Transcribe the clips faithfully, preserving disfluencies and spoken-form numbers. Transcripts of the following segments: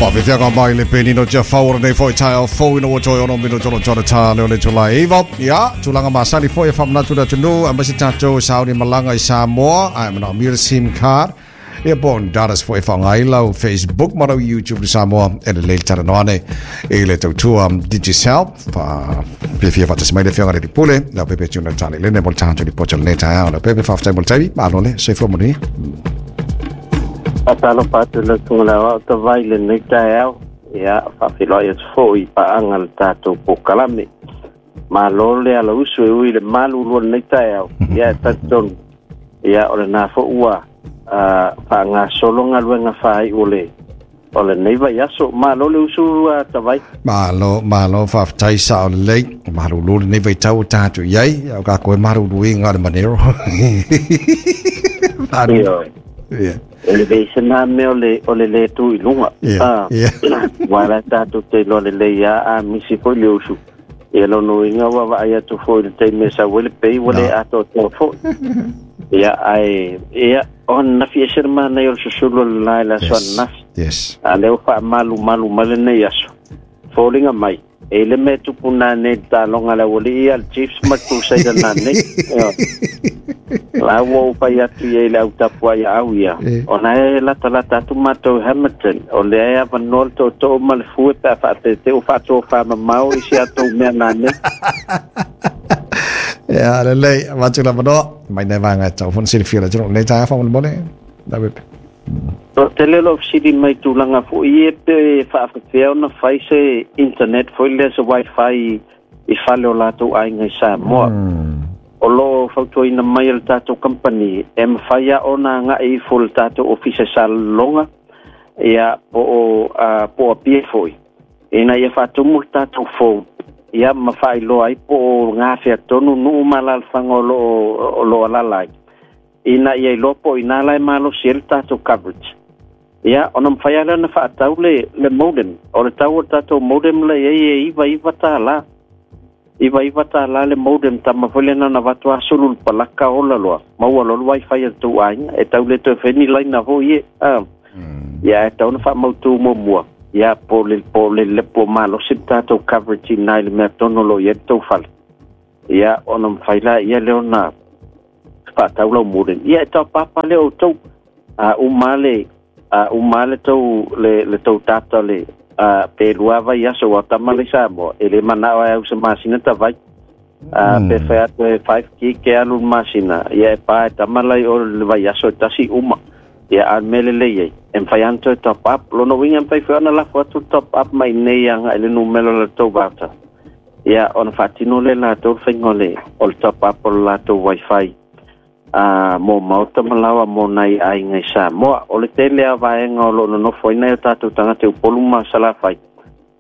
Whawhiwhianga mai le penino tia whawara nei foi tai o fō ina o toi ono mino tolo tolo tā leo le tula iwa. Ia, tūlanga masani foi e whamnatu da tunu, a masi tātou sauni malanga i Samoa, ai mana mira SIM card. Ia bon datas foi whangai lau Facebook ma lau YouTube Samoa e le leil tara noane e le tautua Digicel fa pe fia whatas mai le whianga re pule lau pepe tuna tane lene mo tātou li pocho le tae lau pepe whaftai mo tavi malo le soifua moni. Patalo patu le tunga o te vai le nei tae ia whawhiloi atu fo i paanga le tātou pōkalame. Malo le ala usu e ui le malu lua nei tae au ia e tatonu ia o le nā fo ua uh, ngā solonga luenga whai o le o le nei vai aso. Malo le usu uh, tawai. Malo, malo whaftai sa o le lei. Malo lulu nei vai tau tātou iai. Au ka koe maru lui ngā le manero. Maru. Yeah. E le veisa nā me o le, o le le tū i lunga. Yeah. Yeah. Wala tātou te lo le lei a, a misi foi le usu. E lono inga wa vai atu foi le te me sa wele pei wale ato tō foi. Ia ai ia on nafi e serma nei o susulu le lai la so nafi. Yes. A leo fa malu malu male nei aso. Folinga mai. E le me tupu nā nei tā longa la wali ia le Chiefs ma Crusader nā nei. La ua upai atu ia i le au tapua ia au ia. O nā e lata lata atu mātou Hamilton. O le ae awa noa le tō tō ma le fue pe a whaate te o whātō wha mamau i si atou mea nā nei. Ia, le lei, watu la manoa. Mai nei vanga e tau fona silifia la tino. Nei tā wha mone mone. La wepe. O te lelo siri mai tūlanga fo i e pe whaafawhea ona whai se internet fo i lea se wifi i whale o lātou ainga i Samoa. Mm. O lo fautuaina mai o le tātou company e mwhaia ona ngā i fo le tātou office sa longa ia po o uh, po a pie foi. Ina ia whaatumu le tātou phone. Ia mawhai loa ai po o ngā whia tonu nuu malalwhanga o lo, o lo alalai. Ina ia i lopo i nā lai malo si ele tātou coverage. Ia, ona mwhai ala na whaatau le, le modem. O le tau o tātou modem le e e iwa iwa tā la. Iwa iwa tā la le modem ta mawhele na na watu asulu le palaka ola loa. Maua lolu wifi a tau ainga. E tau le toi wheni laina ho ie. Ah. Mm. Ia, e tau na whaamautu mua mua. Ia, po le, po le lepo malo si tātou coverage i nai le mea tono lo ia tau whale. Ia, ona mwhai la ia leo na whaatau lau modem. Ia, e tau papa le o tau. Uh, umale Uh, umale tau le, le tau tata le uh, pe lua vai aso wa tamale Samoa e le manao ai au se masina ta vai uh, mm. Pe whai atu e five gig ke alu masina ia e pā e tamalai o le vai aso e tasi uma ia a mele le iei e mwhai anto e top up lono winga mwhai whiona lafo atu top up mai nei anga e le numelo le tau vata ia ona whatino le la tau whaingo le o le top up o le la tau wifi Uh, mō mauta malawa mō nai ainga i Samoa. O le tele a vaenga o lo nonofo ai nai o tātou tangata u polu ma salawhai.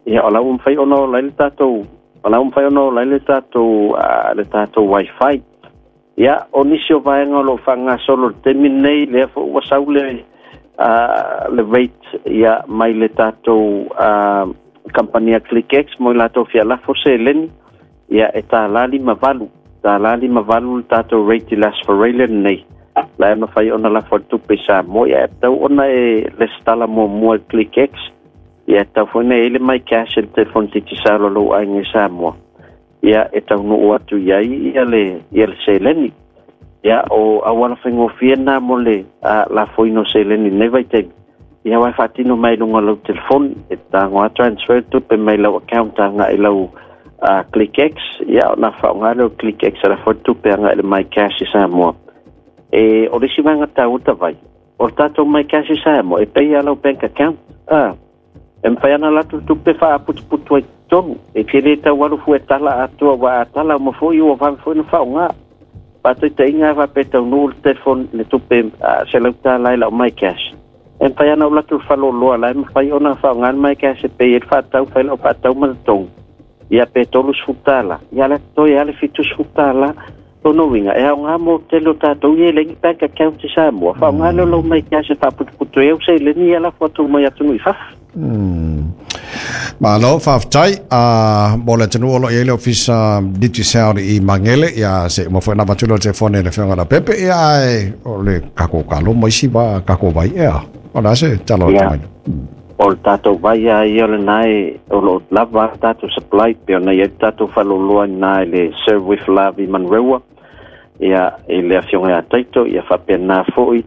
Ia o lau mwhai ono o lai le tātou, o lau mwhai ono o lai le tātou, uh, le tātou wifi. Ia o nisi o vaenga o lo whanga solo le temi nei lea fo ua sau le, uh, le rate ia mai le tātou uh, kampania ClickX mo i lātou fia lafo se leni. Ia e tā lali mavalu. Tā lali mavalu le tātou rate i las farele nei. La e mawhai ona la whatupe sa mo. Ia e tau ona e le stala mo mua ClickX. Ia e tau whai e le mai cash e le telefon titi sa lo ainga sa moa. Ia e tau nuu atu iai ia le, ia le seleni. Ia o awala whaingofia nā mo le uh, la whoino seleni nei vai teimi. Ia wai whatino mai lunga lau telefon. E tā ngoa transfer tupe mai lau account anga i lau Uh, ClickX, ia o nā whaonga leo ClickX ala whatupe anga ele mai cash i Samoa. E o risi wanga tau vai. O tātou mai cash i Samoa, e pei alau bank account. Ah, e mwhai ana latu tupe wha aputuputu ai tonu. E te le tau waru fue tala atua wa atala o mawhoi o whawe fue na whaonga. Pātoi te inga wha pe tau nuu le telefon le tupe uh, se lau tā lai lau mai cash. E mwhai ana o latu whaloloa lai mwhai ona whaonga mai cash e pei e whatau whai lau whatau ma tongu. Ia pe tolu sfutala, ia le toi ale fitu sfutala, tono winga. E au ngā mō te lo tātou i e lengi bank account i Samoa. Wha ngā leo lau mai kia se whaputuputu e au se leni ia la whatu mai atu nui whaf. Mm. Malo, whaftai, uh, mo le tenu olo i le ofisa Digicel i Mangele, ia se mo na watulo te fone le whianga la pepe, ia e o le kako kalo moisi wa kako vai ea. O la se, talo yeah. Tamai. O le tatou vai a ia o lenā e o loo lava tatou supply pe ona i ai tatou faaloloa iina i le Serve with Love i Manurewa ia i le afioga ia Taito ia faapena fo'i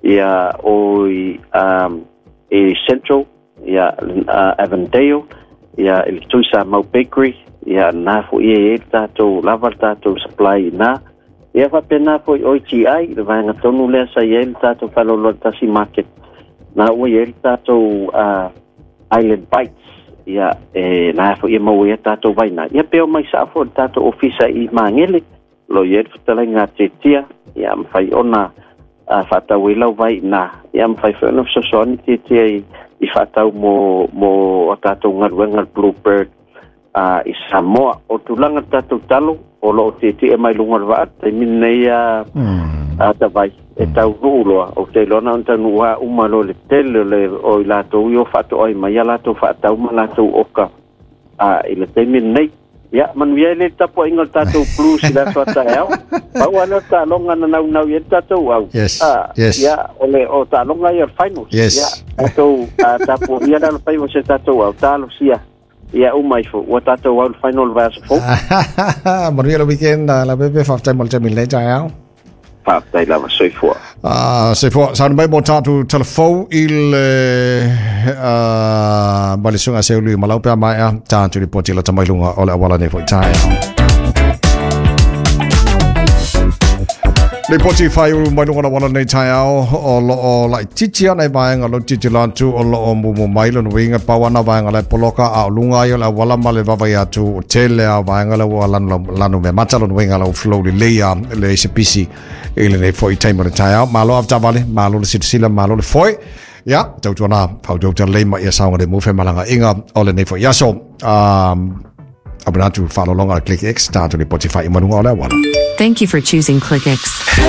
ia o i um, i Central ia uh, Avondale ia i le Tuisa Mau Bakery ia na fo'i e i le tatou lava le tatou supply iina ia faapena fo'i o I T I le vaega tonu lea sa i ai le tatou faaloloa tasi market na ua i ai le tatou uh, Island Bites ia e na fo'i e maua ia tatou vaina ia pe o mai sa'a fo'i le tatou ofisa i Magele lo i ai le fetalaiga Tietia ia mafai ona uh, faatau ai lau vai iina ia mafai foi ona fesoasoani Tietia i, i faatau mo mo o tatou galuega le Bluebird uh, i Samoa. O tulaga le tatou talo o loo tietie mai luga o le vaa taimi nei a Mm. a tavai e taunuu loa o te iloa na ona taunuu a uma loa le tele o le o i latou i o faatoai mai ia latou faatau ma latou oka a i le taimi lenei. Ia manuia ai le tapuaiga o le tatou Blues i le aso ataeao pau a lea o taaloga na naunau i ai le tatou au. Yes, Ah, yes. Ia o le o taaloga ia o le finals. Yes. Ia tatou a tapuaia le alofaiva o se tatou au talosia ia uma ifo ua tatou au le final le vaiaso fou. Manuia le weekend la pepe faafetai mo le taimi lenei taeao. Faafetai lava, soifua. Ah, se fo sa mai mo tatu telefon i le uh, ma le sunga se ulu malau pe mai a tatu li poti la tamai lunga o le awala nei foi tae. Le poti fai ulu mai lunga wala nei tae ao o lo o lai titi ana i vaenga lo titi lantu o lo o mumu mai lo winga pawana vaenga le poloka a o lunga i o le awala ma le vavai atu o tele a vaenga le ua lanu, lanu me mata lo winga lo flow le leia le se pisi i le nei foi taimo le tae ao. Malo aftavale, malo le silasila, malo le foi. Ia, tautuana, fautauta lei ma ia saoga le mufe malanga inga o le nei foi aso. Um, Amanatu whaalolonga le Click X, tātu le poti whai i manunga o le awala. Thank you for choosing ClickX.